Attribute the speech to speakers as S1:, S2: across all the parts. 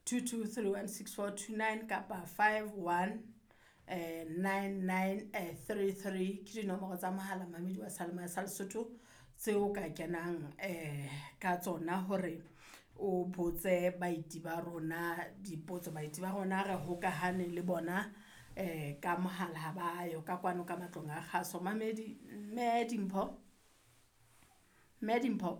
S1: 22316429 kapa 51 9933 ke dinomoro tsa mohala mamedi wa Seyalemoya sa Lesotho tseo ka kenang ka tsona hore o botse baeti ba rona dipotso. Baeti ba rona re hokahane le bona ka mohala ha ba yo ka kwano ka matlong a kgaso. Mamedi, mme Dimpho, mme Dimpho.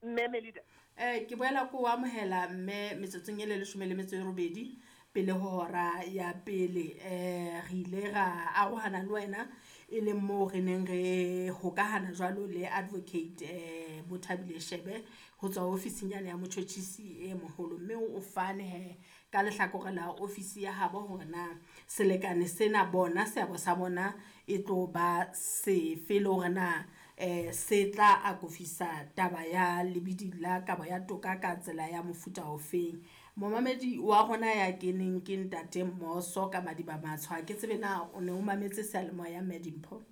S2: Mme Melida.
S1: Ke boela ko amohela mme metsotsong e le 18 pele ho hora ya pele. Re ile ra arohana le wena e leng moo re neng re hokahana jwalo le Advocate Bathabile Shebe ho tswa ofising yane ya motjhotjhisi e moholo, mme o fane hee ka lehlakore la ofisi ya habo hore na selekane sena bona seabo sa bona e tlo ba sefe le hore na se tla akofisa taba ya lebidi la kabo ya toka ka tsela ya mofuta ofeng. Momamedi wa rona ya keneng ke ntate Moso ka Madiba Matsho, ha ke tsebe na o ne o mametse seyalemoya mme Dimpho?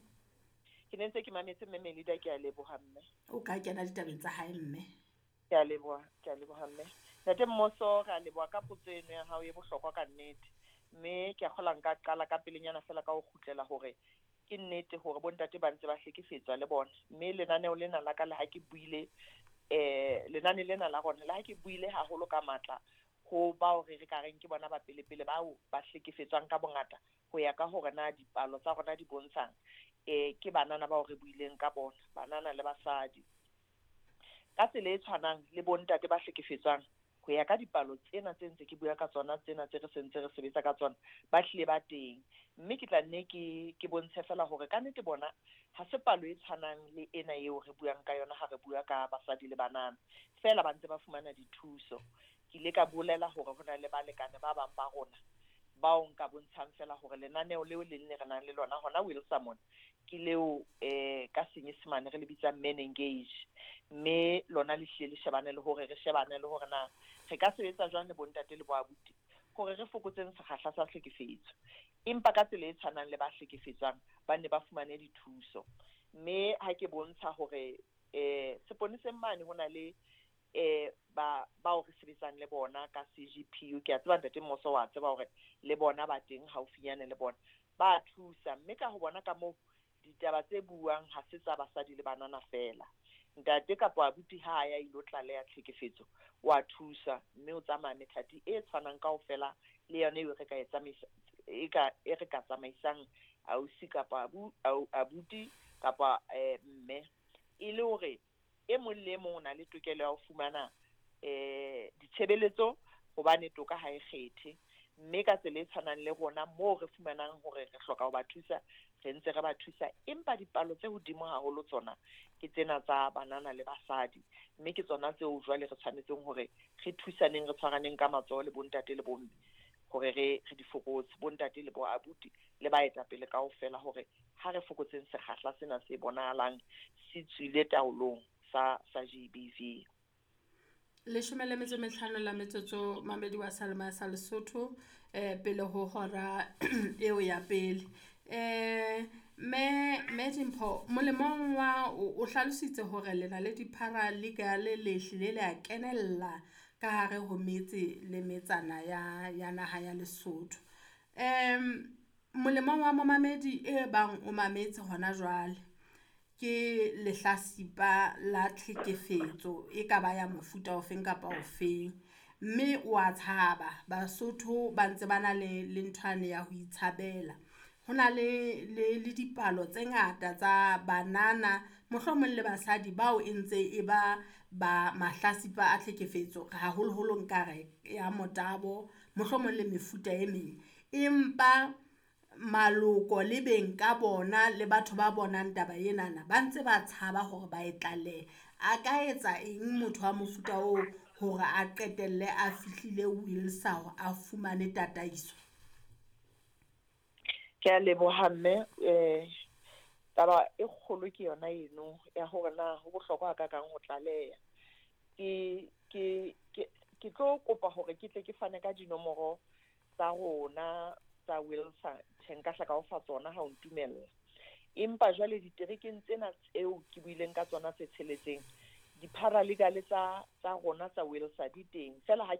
S2: Ke ne ntse ke mametse mme Melida, ke a leboha mme.
S1: O ka kena ditabeng tsa hae mme.
S2: Ke a leboha, ke a leboha mme. Ntate Mmoso, re a leboha ka potso eno ya hao e bohlokwa ka nnete. Mme ke a kgola nka qala ka pelenyana fela ka ho kgutlela hore ke nnete hore bontate ba ntse ba hlekefetswa le bona. Mme lenaneo lena la ka le ha ke buile lenane lena la rona le ha ke buile haholo ka matla ho bao re re ka reng ke bona ba pele-pele bao ba hlekefetswang ka bongata ho ya ka hore na dipalo tsa rona di bontshang, ke banana bao re buileng ka bona, banana le basadi. Ka tsela e tshwanang le bontate ba hlekefetswang ho ya ka dipalo tsena tse ntse ke bua ka tsona tsena tse re sentse re sebetsa ka tsona, ba hlile ba teng. Mme ke tla nne ke bontshe fela hore ka nnete bona ha se palo e tshwanang le ena eo re buang ka yona ha re bua ka basadi le banana, fela ba ntse ba fumana dithuso. Ke ile ka bolela hore ho na le balekane ba bang ba rona bao nka bontshang fela hore lenaneo leo le nne re nang le lona hona Wilson mona ke leo ka Senyesemane re le bitsang Men Engage, mme lona le hlile le shebane le hore re shebane le hore na re ka sebetsa jwang le bontate le boabuti hore re fokotseng sekgahla sa tlhekefetso, empa ka tsela e tshwanang le ba hlekefetswang ba ne ba fumane dithuso. Mme ha ke bontsha hore seponeseng mane ho na le ba bao re sebetsang le bona ka CGPU, ke a tseba ntate Mmoso wa tseba hore le bona ba teng haufinyane le bona ba thusa. Mme ka ho bona ka moo ditaba tse buang ha se tsa basadi le banana fela, ntate kapa abuti ha a ya ilo tlaleha tlhekefetso wa thusa, mme o tsamaya methati e tshwanang kaofela le yona eo re ka e tsamaisa e ka e re ka tsamaisang ausi kapa abuti kapa mme, e le hore e mong le e mong o na le tokelo ya ho fumana ditshebeletso, hobane toka ha e kgethe. Mme ka tsela e tshwanang le rona moo re fumanang hore re hloka ho ba thusa, re ntse re ba thusa, empa dipalo tse hodimo haholo tsona ke tsena tsa banana le basadi, mme ke tsona tseo jwale re tshwanetseng hore re thusaneng, re tshwaraneng ka matsoho le bontate le bomme hore re di fokotse, bontate le bo abuti le baetapele kaofela, hore ha re fokotseng sekgahla sena se bonahalang se tswile taolong sa GBV.
S1: 15 la metsotso mamedi wa Seyalemoya sa Lesotho pele ho hora eo ya pele. Mme Dimpho, molemong wa o hlalositse hore le na le di-paralegal le hlile le a kenella ka hare ho metse le metsana ya naha ya Lesotho. Molemong wa momamedi e bang o mametse hona jwale ke lehlasipa la tlhekefetso e ka ba ya mofuta ofeng kapa ofeng, mme wa tshaba, Basotho ba ntse ba na le nthwane ya ho itshabela. Ho na le dipalo tse ngata tsa banana mohlomong le basadi bao e ntse e ba ba mahlasipa a tlhekefetso, haholoholo nkare ya motabo, mohlomong le mefuta e meng, empa maloko le beng ka bona le batho ba bonang taba enana ba ntse ba tshaba hore ba e tlalehe. A ka etsa eng motho wa mofuta oo hore a qetelle a fihlile Wilsa a fumane tataiso?
S2: Ke a leboha mme. Taba e kgolo ke yona eno ya hore na ho bohlokwa hakakang ho tlaleha. Ke tlo kopa hore ke tle ke fane ka dinomoro tsa rona tsa Wilsa, tjhe nka hla ka o fa tsona ha o ntumella. Empa jwale diterekeng tsena tseo ke buileng ka tsona tse tsheletseng, di-paralegal tsa rona tsa Wilsa di teng. Fela ha